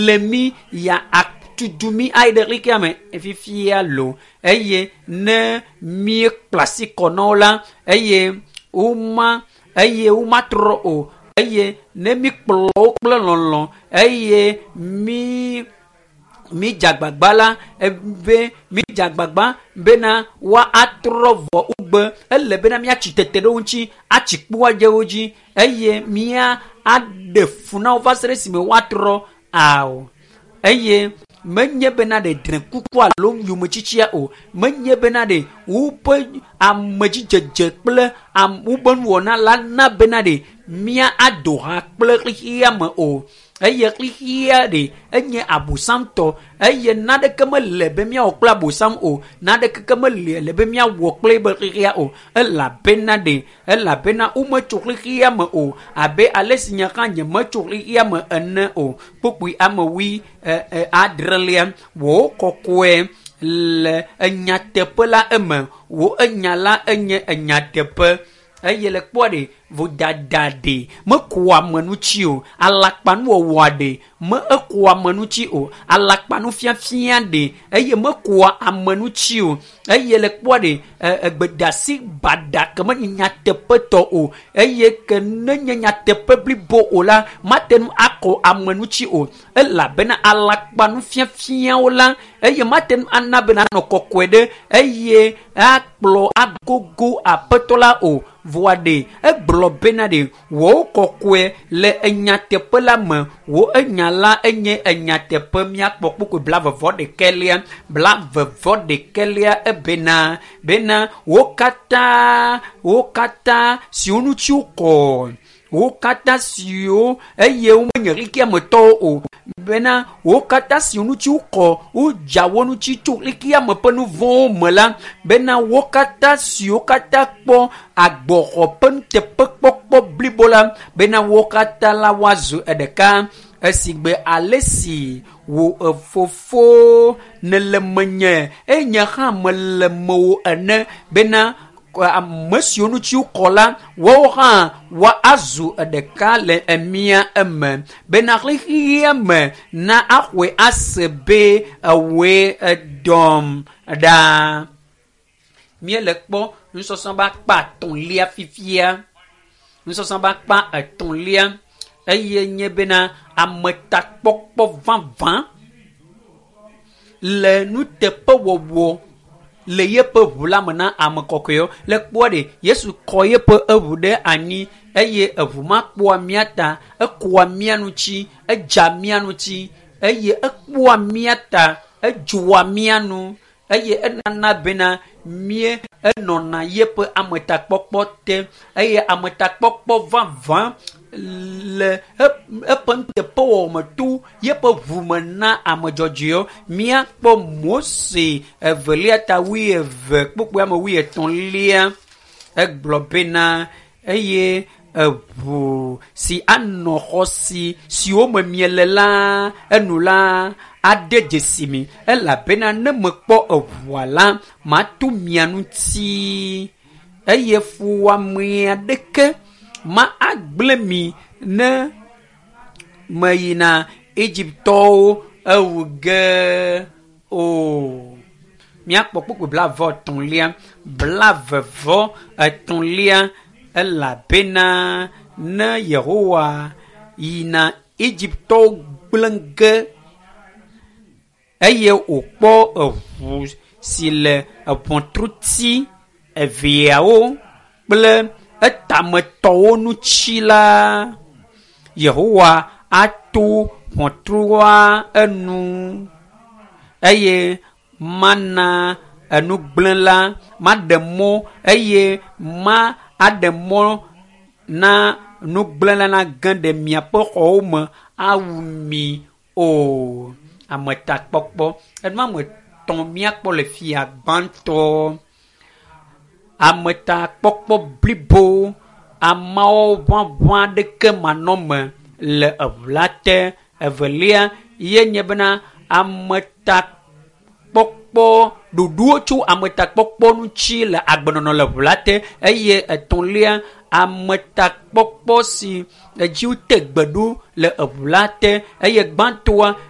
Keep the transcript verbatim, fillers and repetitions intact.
ble mi ya atutu mi ayi ɖe xexea me fifia lo eye ne míekpla asi kɔ na wo la eye woma eye womatrɔ o eye ne míkplɔ wo kple lɔlɔ eye mí mídze agbagba la be mídze agbagba bena woa atrɔ vɔ wogbe ele bena míatsi tete ɖe wo ŋuti atsi kpo adze wo dzi eye mía aɖe fu na wo va se ɖe esime woatrɔ ao eye menye bena ɖe drẽkuku alo yometsitsia o menye bena ɖe woƒe amedzidzedze kple am woƒe nuwɔna la na bena ɖe mía ado ha kple xexea me o eye xexea ɖe enye abosamtɔ eye naneke mele be míawɔ kple abosam o naneke ke mele le be míawɔ kple ebe xexea o elabena ɖe elabena wometso xexea me o abe ale si nye hã nyemetso xexea me ene o kpokpui ame wui e, e, adrelia wò kɔkɔe le enyateƒe la eme wò enya la enye enyateƒe eye le kpɔa ɖe vodada ɖe mekua ame ŋuti o alakpanuwɔwɔa ɖe me ekua ame ŋuti o alakpanufiafia ɖe eye mekua ame ŋuti o eye le kpɔa ɖe egbedasi baɖa ke menye nyateƒetɔ o eye ke nenye nyateƒe blibo o la mate ŋu akɔ ame ŋuti o elabena alakpanufiafiawo la eye mate ŋu ana bena anɔ kɔkɔe ɖe eye akplɔ agogo aƒetɔ la o vɔa ɖe egblɔ bena ɖe wò kɔkɔe le enyateƒe la me wò enya la enye enyateƒe míakpɔ kpokpoe blavevɔ ɖekɛlia blavevɔ ɖekɛlia ebena bena wo katã wo katã siwo ŋuti wokɔ wo katã siwo eye womenye xexea me tɔwo o bena wo katã siwo ŋuti wokɔ wodza wo ŋuti tso xexea me ƒe nu vɔ̃wo me la bena wo katã siwo katã kpɔ agbɔxɔ ƒe nuteƒekpɔkpɔ blibo la bena wo katã la woazu ɖeka esigbe ale si wò fofo nele menye eye nye hã mele mewò ene bena ame siwo ŋuti wokɔ la woawo hã woazu ɖeka le emia eme bena xexea me na axɔe ase be ewòe edɔm ɖa. Míele kpɔ nusɔsrɔ̃ be akpa etɔ̃lia fifia. Nusɔsrɔ̃ be akpa etɔ̃lia eye nye bena ametakpɔkpɔ vavã le nuteƒewɔwɔ le yeƒe ʋu la me na ame kɔkɔewo. Le kpɔa ɖe Yesu kɔ yeƒe eʋu ɖe anyi eye eʋu ma kpɔa mía ta, ekɔa mía ŋuti, edza mía ŋuti eye ekpɔa mía ta, edzoa mía nu eye enana bena mía enɔna yeƒe ametakpɔkpɔ te eye ametakpɔkpɔ vavã le eƒe nuteƒewɔwɔ me to yeƒe ʋu me na ame dzɔdzɔewo. Míakpɔ Mose evelia ta wuieve kpukpui ame wuietɔ̃lia egblɔ bena eye eʋu si anɔ xɔ si siwo me miele la enu la ade dzesi mi elabena ne mekpɔ eʋua la mato mia ŋuti eye fuwɔame aɖeke ma agblẽ mi ne meyina Egiptɔwo ewu ge o. Míakpɔ kpukpui blaeve etɔ̃lia, blave vɔ etɔ̃lia elabena ne Yehowa yina Egiptɔwo gblẽ ge eye wòkpɔ eʋu si le eʋɔtruti eveawo kple etametɔwo ŋuti la, Yehowa ato ʋɔtrua enu eye mana enugblẽla maɖe mɔ eye ma aɖe mɔ na nugblẽla nage ɖe miaƒe xɔwo me awu mi o. Ametakpɔkpɔ enu ame etɔ̃ míakpɔ le fia gbãtɔ. Ametakpɔkpɔ blibo ameawo ʋaʋã aɖeke manɔme le eʋu la te. Evelia ye nye bena ametakpɔkpɔ ɖoɖowo tso ametakpɔkpɔ ŋuti le agbenɔnɔ le ʋu la te eye etɔ̃lia ametakpɔkpɔ si edzi wote gbe ɖo le eʋu la te eye gbãtɔa